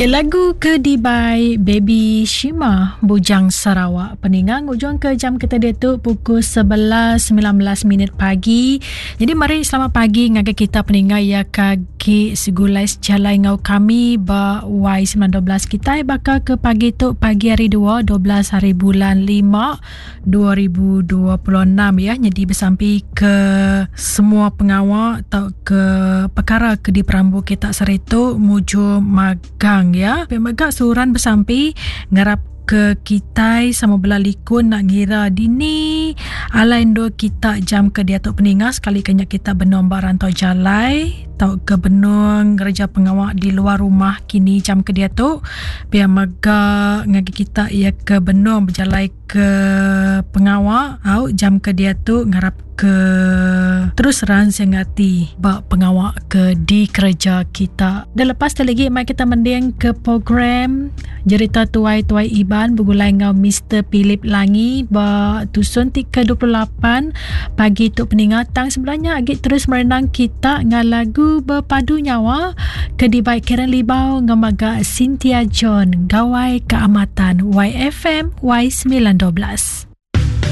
Ya lagu ke dibai Baby Shima Bujang Sarawak. Peninga ngujung ke jam kita diatu pukul 11.19 minit pagi. Jadi mari selamat pagi ngagai kita peninga ya kagi segulai sejalai ngau kami ba Y912 kitai baka ke pagi tu pagi hari 2 12 hari bulan 5 2026 ya. Jadi besampi ke semua pengawa tau ke pekara ke diperambu kita saritu mujur magang ya. Pia mega seruran besampi ngarap ke kitai sama bela likun nak ngira dini alai endur kita jam ke diatu peninga sekali ke nya kita benung ba rantau jalai tauka benung ngereja pengawa di luar rumah kini jam ke diatu pia mega ngagai kita iya ke benung bejalai ke pengawa au jam ke diatu ngarap ke terus ransing ati ba pengawa ke dikereja kita. Dan lepas tu lagi mai kita mending ke program Jerita Tuai Tuai Iban begulai enggau Mister Philip Langi ba tusun ti ke-28 pagi tu peninga tang sebenarnya agi terus merenang kita enggau lagu Berpadu Nyawa ke dibai Karen Libau enggau mega Cynthia John Gawai Keamatan YFM Y912.